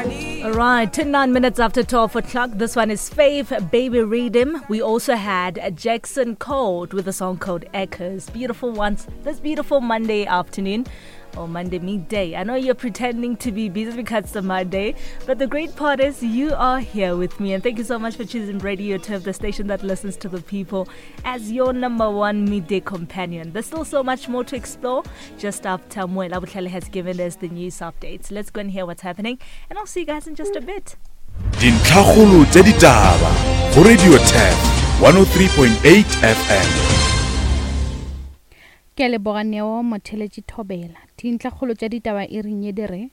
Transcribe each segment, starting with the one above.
All right, 9 minutes after 12 o'clock. This one is Faith Baby Rhythm. We also had Jackson Code with a song called Echoes. Beautiful ones. This beautiful Monday afternoon or Monday midday. I know you're pretending to be busy because it's a Monday, but the great part is you are here with me. And thank you so much for choosing Radio Turf, the station that listens to the people, as your number one midday companion. There's still so much more to explore just after Muela Butlhale has given us the news updates. Let's go and hear what's happening, and I'll see you guys in just a bit. Dintlhakgolo tša ditaba go Radio Turf 103.8 FM. Ke a leboga Neo Motheletši Thobela. Dintlhakgolo tša ditaba iring ye di re,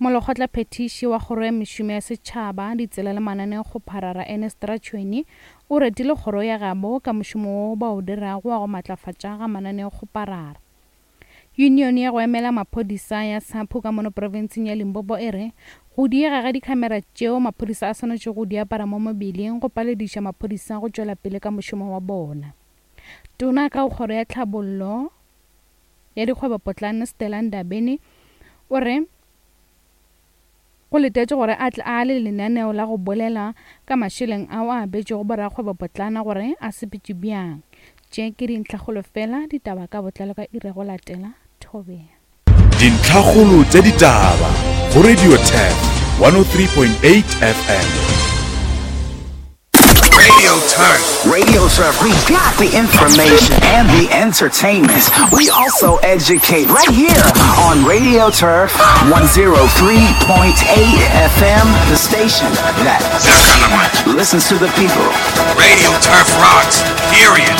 Molekgotla phethiši wa Kgoro ya Mešomo ya Setšhaba, Ditsela le Mananeokgoparara Ernest Ratšhweni o retile kgoro ya gabo ka mošomo wo ba o dirago wa go matlafatša ga mananeokgoparara. Yunione ya go emela maphodisa ya SAPU ka mono profenseng ya Limpopo e re go diega ga dikhamera tšeo maphodisa a swanetšego go di apara mo mebeleng go palediša maphodisa go tšwela pele ka mošomo wa bona. Tona ka go Kgoro ya Tlhabollo ya Dikgwebopotlana Stella Ndabeni o re go letetšwe gore a tle a le lenaneo la go bolela ka mašeleng ao a abetšwego borakgwebopotlana gore a sepetše bjang. Tše ke dintlhakgolo fela, ditaba ka botlalo ka iri ya go latela. Thobela. Dintlhakgolo tša ditaba go Radio Turf 103.8 FM. Radio Turf. Radio Turf, we got the information and the entertainment. We also educate right here on Radio Turf 103.8 FM, the station that listens to the people. Radio Turf rocks, period.